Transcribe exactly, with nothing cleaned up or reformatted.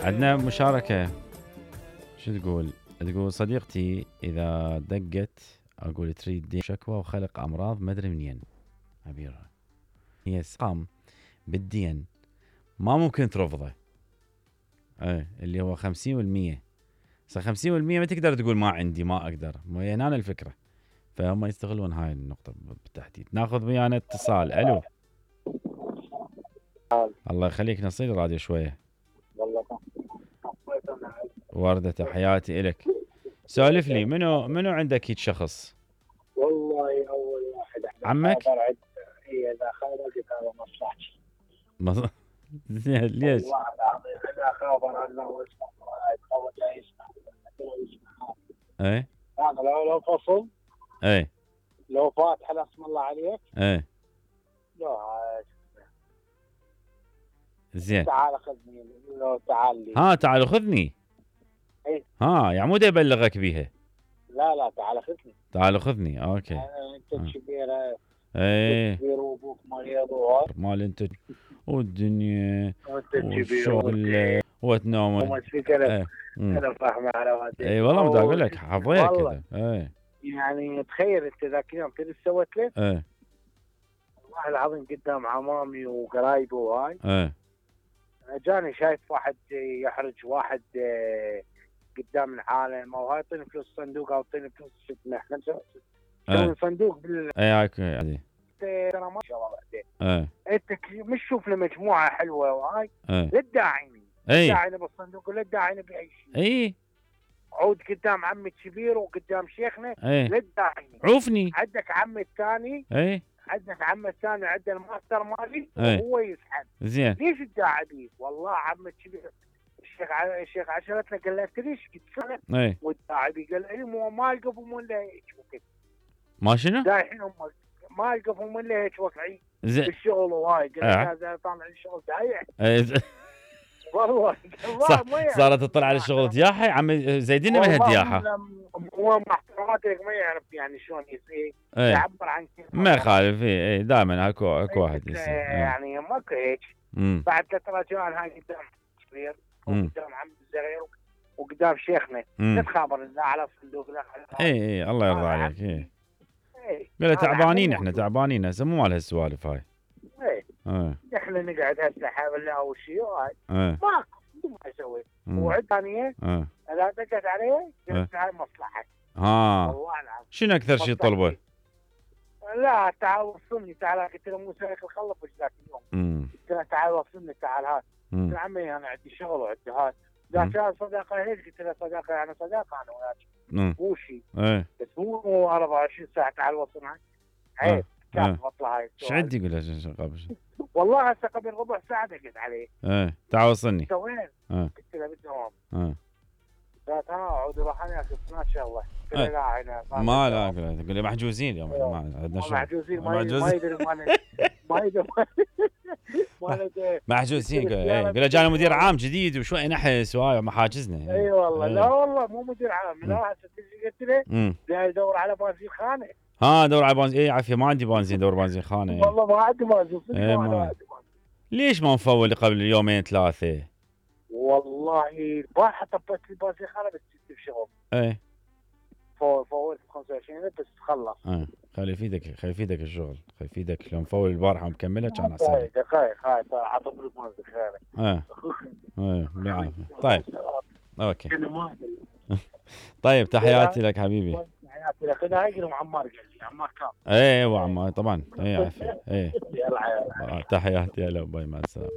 عندنا مشاركة. شو تقول؟ تقول صديقتي إذا دقت أقول تريد دين شكوى وخلق أمراض ما أدري منين عبيرها. هي سقام بالدين ما ممكن ترفضه. ايه اللي هو خمسين بالمية. صار خمسين بالمية ما تقدر تقول ما عندي ما أقدر. مو هنا الفكرة. فهم يستغلون هاي النقطة بالتحديد. ناخذ ويانا اتصال. ألو. الله يخليك نصير الراديو شوية. وردة تحياتي إلك. سولف لي منو منو عندك هيك شخص؟ والله أول واحد عمك؟ هي إذا خابر كتابة مصلحتي. مص... ليش؟ والله العظيم إذا خابر أنه اسمه أو لا يسمع يسمع. إيه. أنا لو لو فصل. إيه. لو فاتح اسم الله عليك. إيه. لا. زين. تعال خذني لو تعال لي. ها تعال خذني. ايه. ها يعني مو يبلغك بيها. لا لا تعال خذني. تعال خذني اوكي. انت الكبيرة. ايه. كبير وابوك مريض وهاي. مال انت والدنيا. وانت الكبير والشغل وتنام. وما تفكر. ايه. انا فاهمه على وادي. اي والله بدي اقول لك حظيك كذا. ايه. يعني تخيل انت ذاك اليوم تدري ايش سويت له؟ ايه. والله العظيم قدام عمامي وقرايبي وهاي. ايه. جاني شايف واحد يحرج واحد قدام العالم او هاي يعطيني فلوس صندوق او يعطيني فلوس شفنا احنا نسوي صندوق بال اي هاك عادي. ترى ما شاء الله بعدين. ايه. انت مش شوف لي مجموعه حلوه وهاي. ايه. لا تداعيني. اي. داعيني بالصندوق ولا داعيني باي شيء. اي. عود قدام عمي الكبير وقدام شيخنا. ايه. لا تداعيني. عوفني. عندك عمي الثاني. اي. عندك عمي الثاني عنده الماستر مالي وهو يسحب. زين. ليش تداعي بيه؟ والله عمي الكبير الشيخ ع... الشيخ عشرتنا قال له انت ليش قلت له؟ اي. والداعي بيه قال لي مو ما يقفوا من له هيك وقت. ما شنو؟ دايحين هم ما يقفوا من له هيك وقعي. زين. بالشغل وهاي قال اه. لي طالع الشغل دايح. ايه. والله صح صارت تطلع على الشغل دياحه عمي زيدين ما هدياحه. هو مع احتراماتي لك ما يعرف يعني شلون يصير يعبر عن كيف ما يخالف. اي دائما اكو اكو واحد يصير يعني ماكو هيك. بعد ثلاث رجال هاي قدام كبير وقدام عم الصغير وقدام شيخنا نتخابر لا على صندوق لا على. اي اي الله يرضى عليك. اي قال تعبانين احنا تعبانين هسه مو مال هالسوالف هاي. ايه احنا نقعد هسه حول اول شيء هاي ماكو ما اسوي. وعد ثانيه اذا دقت علي قلت هاي مصلحتك. ها والله العظيم. شنو اكثر شيء طلبه؟ لا تعال وصلني تعال قلت له مو سايق الخلف وش ذاك اليوم. قلت له تعال وصلني تعال هات. قلت له عمي انا عندي شغل وعندي هات. ذاك صداقه هيك قلت له صداقه انا صداقه انا وياك. مو شيء. ايه. بس مو أربعة وعشرين ساعه تعال وصلنا. عيب. كيف اطلع هاي. ايش عندي يقول له قبل؟ والله هسه قبل ربع ساعه دقت عليه. ايه تعال وصلني. انت وين؟ اه قلت له بالدوام. اه قالت ها عود روح انا ما شاء الله. قلت له لا هنا ما لا تقول لي محجوزين اليوم ما عندنا شغل. محجوزين ما يدري ما يدري ما محجوزين. قال له جانا مدير عام جديد وشوي نحس وهاي محاجزنا. اي والله لا والله مو مدير عام. لا هسه قلت له جاي يدور على بنزين خانه. ها دور على بنزين. اي عافيه ما عندي بنزين دور بنزين خانه. والله ما عندي بنزين. اي ما ليش ما مفول قبل يومين ثلاثه؟ والله البارحه طبيت لي بنزين خانه بس جبت بشغل. اي فولت خمسة وعشرين بس خلص. اه خلي يفيدك خلي يفيدك الشغل خلي يفيدك لو مفول البارحه ومكمله كان احسن. خايف خايف خايف عطوا لي بنزين خير. اه ايه بالعافيه. طيب اوكي. طيب تحياتي لك حبيبي. تحياتي لك. انا هاي عمار قال لي عمار كان. ايه هو عمار طبعا. ايه عافيه. ايه تحياتي. هلا باي مع السلامه.